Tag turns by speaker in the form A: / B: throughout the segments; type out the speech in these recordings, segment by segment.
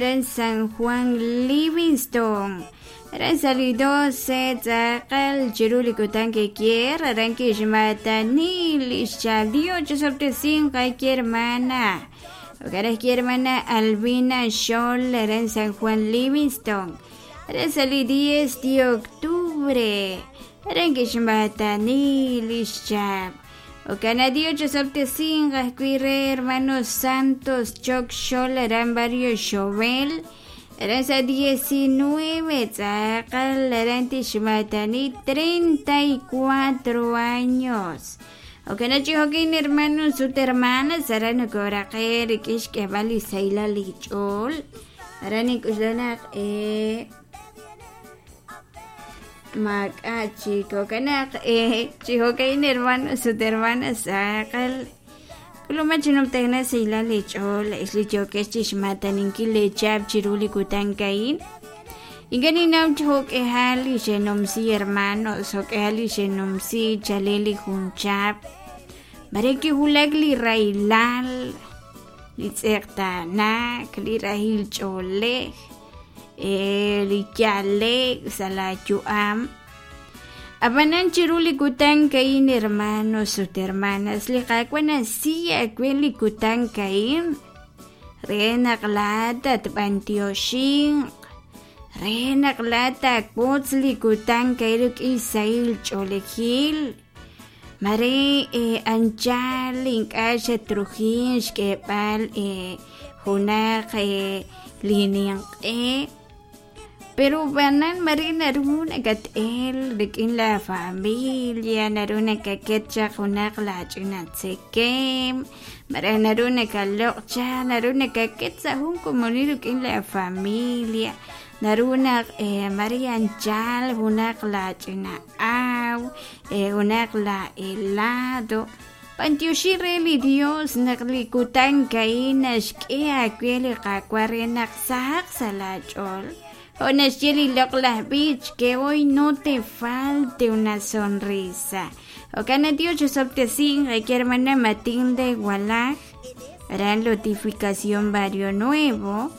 A: aran San Juan Livingston. Aran sa' li 12 tz'aqal chiru li kutan ke'kier aran kixmaatani li xchal Dios chisob'tesinq ay hermana. Jo'kan ajwi' hermana Albina Xol aran San Juan Livingston. Aran sa' li 10 de octubre aran kixmaatani li xchab'. Jo'kan Dios chisob'tesinq ajwi' re hermano Santos Choc Xol aran Barrio Xovel. Aran sa' 19 tz'aqal aran tixmaatani 34 años. Jo'kan chi jo'kin hermanos ut hermanas aran nokoraqe rik'in xk'eeb'al li sahilal li ch'ool. Aran nink'uxla naq maak'a' chik jo'kan naq chi jo'ka'in hermanos ut hermanas tz'aqal k'uluma chi numtajenaq sahilal li ch'ool ex li yookex chixmaataninkil lee chihab' chiru li kutan a'in. Ink'a' ninnaw chi jo'k'ihal li xenumsi hermanos, jo'k'ihal li xenumsi chalel li jun chihab'. Mare kiwulak li rahilal, li tz'eqtaanaak, li rahil ch'oolej, li yale'k sa' laa yu'am. Ab'anan chiru li kutan a'in hermanos ut hermanas, li Qaawa' naxsi aawe li kutan a'in re naq laa'at tatb'antioxinq, re naq laa'at taawotz li kutan a'in rik'in sahil ch'oolejil. Mare anchal ink'a' xatrujin xk'eeb'al junaq li ninq'e pero b'anan mare naru nakat-el rik'in la familia, naru nakaket chaq junaq laach'ina tzekem, malaj naru nakaloq' chaq, naru nakaket sa' jun komonil rik'in la familia, naru naq mare anchal junaq laach'ina aw, junaq la helado. B'antioxi re li Dios naq li kutan a'in naxk'e aawe li Qaawa' re naq sahaq sa' laach'ool. Jo' naxye li loq'laj b'ich que hoy no te falte una sonrisa. Jo'kan naq Dios chisob'tesinq eke hermana Matilde Walaj, aran Lotificación Barrio Nuevo.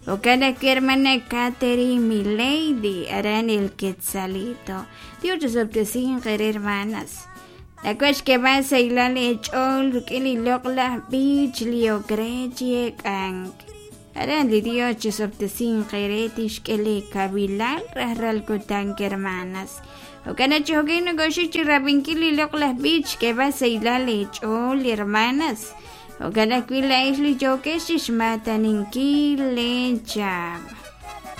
A: Jo'kan ajwi' hermana Catherine Milady, aran El Quetzalito. Dios chisob'tesinq eere hermanas. Nak'uaj xk'eeb'al sahilal eech'ool rik'in li loq'laj b'ich li ok re chi eek'ank. Aran li Dios chisob'tesinq eere tixk'e lee kawilal rajlal kutan, hermanas. Jo'kan naq chi jo'kan nokoxik chi rab'inkil li loq'laj b'ich xk'eeb'al sahilal eech'ool, hermanas. Jo'kan ajwi' laa'ex li yookex chixmaataninkil lee chab'.